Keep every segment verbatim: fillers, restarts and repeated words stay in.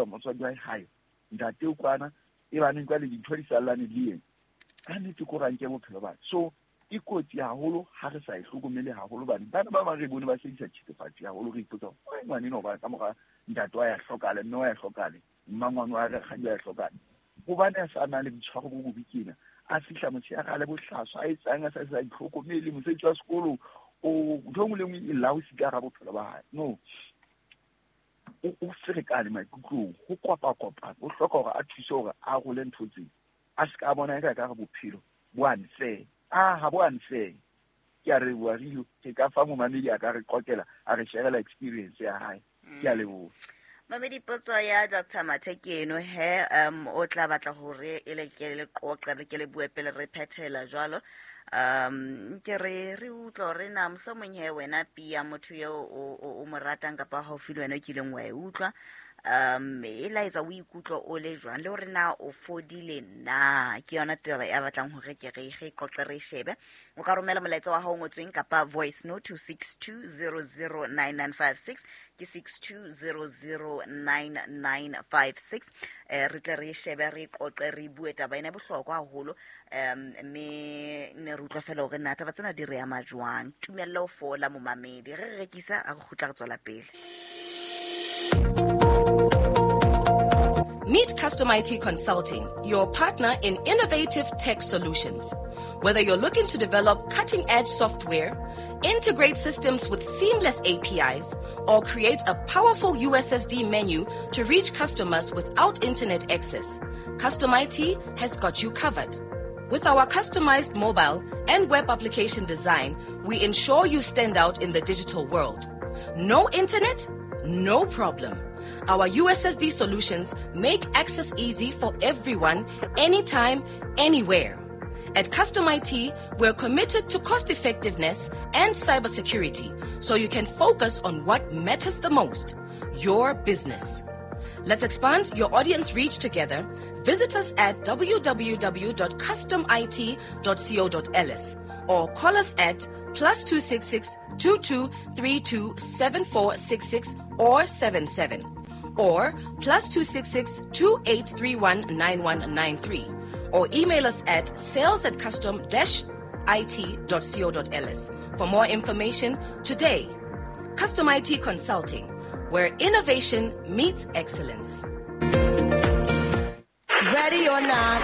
Motswadi wa hae ntate o kwana e baneng jwale dintho di sallane le ena ka nnete ko ranke bophelo ba. So e kotsi haholo ha re sa e hlokomele haholo, bane bana ba bang re bone ba sebedisa thethefatsi haholo. Re ipotsa why ngwane eno ba ka mora ntate wa ya hlokahale, mme wa ya hlokahale, mmangwane wa rakgadi wa ya hlokahale, hobane a sa na le boitshwaro bo bobe kena a fihla motshehare a le bohlaswa, a etsang a sa sa itlhokomele, mosebetsi wa sekolo o ntho e nngwe le nngwe e laosi ka hara bophelo ba hae. No, o o ferekane maikutlong, ho kopa-kopana, o hloka hore a thuse hore a role ntho tseo, a se ka bona eka ka re bophelo bo unfair. Ah, ha bo unfair. Ke a leboha Rio, ke ka fa momamedi a ka re qoqela, a re sharela experience ya hae. Ke a leboha. Mamedi, potso ya Doctor Mathe ke eno he. um o tla batla hore e le ke le qoqe, re ke le bue pele re phethela jwalo. um ke re re utlwa hore na mohlomong he wena pia motho eo o o mo ratang kapa haufi le wena o kileng wa e utlwa, um e laetsa o ikutlwa o le jwang, le hore na o fodile na. Ke yona taba ya batlang hore ke re re qoqe, re shebe. O ka romela molaetsa wa hao o ngotsweng kapa voice note to six two zero zero nine nine five six, ke six two zero zero nine nine five six. eh re tle re shebe, re qoqe, re bue taba ena e bohlokwa haholo. um mme ne re utlwa fela hore na taba tsena di re ama jwang. Tumello ho fola, momamedi, re re rekisa a re kgutla, re tswela pele. Meet Custom I T Consulting, your partner in innovative tech solutions. Whether you're looking to develop cutting edge software, integrate systems with seamless A P Is, or create a powerful U S S D menu to reach customers without internet access, Custom I T has got you covered. With our customized mobile and web application design, we ensure you stand out in the digital world. No internet? No problem. Our U S S D solutions make access easy for everyone, anytime, anywhere. At Custom I T, we're committed to cost effectiveness and cybersecurity so you can focus on what matters the most, your business. Let's expand your audience reach together. Visit us at w w w dot customit dot co dot ls or call us at plus two six six two two three two seven four six six or seven seven or plus two six six two eight three one nine one nine three or email us at sales at custom dash it dot co dot ls for more information today. Custom I T Consulting, where innovation meets excellence. Ready or not,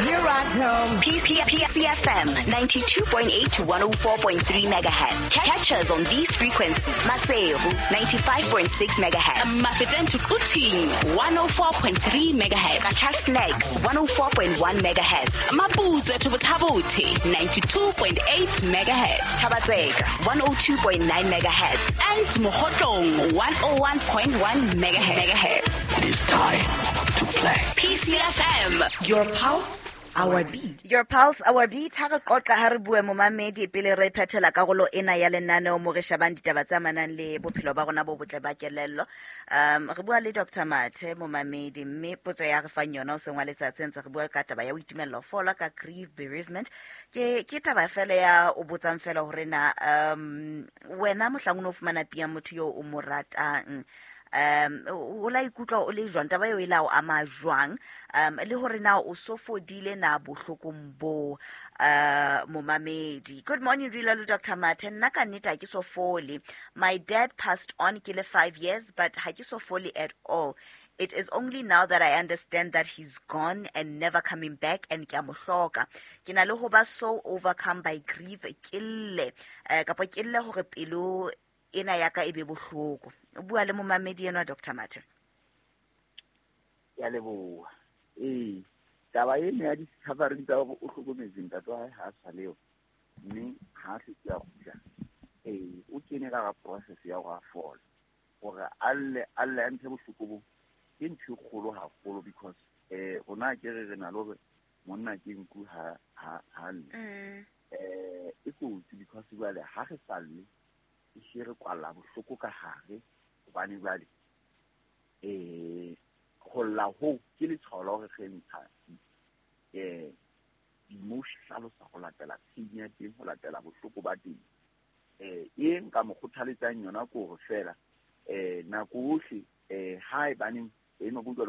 here I come. P C F M ninety-two point eight to one oh four point three megahertz. Catch us on these frequencies. Maseru ninety-five point six megahertz. Mafeteng to Quthing one oh four point three megahertz. Qacha's Nek one oh four point one megahertz. Maputswe to Botha-Bothe ninety-two point eight megahertz. Thaba-Tseka one oh two point nine megahertz. And Mokhotlong one oh one point one megahertz. It is time to play. P C F M. Your pulse, our beat. Your pulse, our beat. Ha re qoqa, ha re bue, momamedi, pele re phethela karolo ena ya lenaneo mo re shebang ditaba tse amanang le bophelo ba rona bo botle ba kelello. um re bua le Doctor Mathe, momamedi, mme potso ya re fang yona o seng wa letsatsi ntse re bua ka taba ya ho itumella ho fola ka grief, bereavement. ke ke taba fela ya o botsang fela hore na um wena mohlang o no fumana pia motho yo o mo ratang, um o la ikutlwa o le jwang, taba eo e la o ama jwang, um le hore na o so fodile na bohlokong bo. uh momamedi good morning Rila le Doctor Mathe. Nna ka nnete ha ke so fole. My dad passed on ke le five years, but ha ke so fole at all. It is only now that I understand that he's gone and never coming back, and ke a mo hloka. Ke na le ho ba so overcome by grief, ke lle eh, kapa ke lle hore pelo ena ya ka e be bohloko. O bua le momamedi enwa, Doctor Mathe. Ya leboha. Ee, taba ena ya di-covering tsa hore o hlokometse ntate wa hae ha a sa leo, mme ha a hlotse a kgutla, ee, o kene ka hara process ya hore a fole, hore a lle, a lle, a ntshe bohloko bo, ke ntho e kgolo haholo, because eh rona ke re re na le hore monna ke nku ha ha ha lle. Mm. eh e kotsi because jwale ha re sa lle, e hle re kwalla bohloko ka hare, hobane jwale eh ho lla hoo ke letshwao la hore re ntsha eh di-emotion, hlalosa ho latela pain ya teng, ho latela bohloko ba teng. eh e nka mo kgothaletsang yona ke hore fela eh nako yohle, eh ha e baneng eno ke utlwa.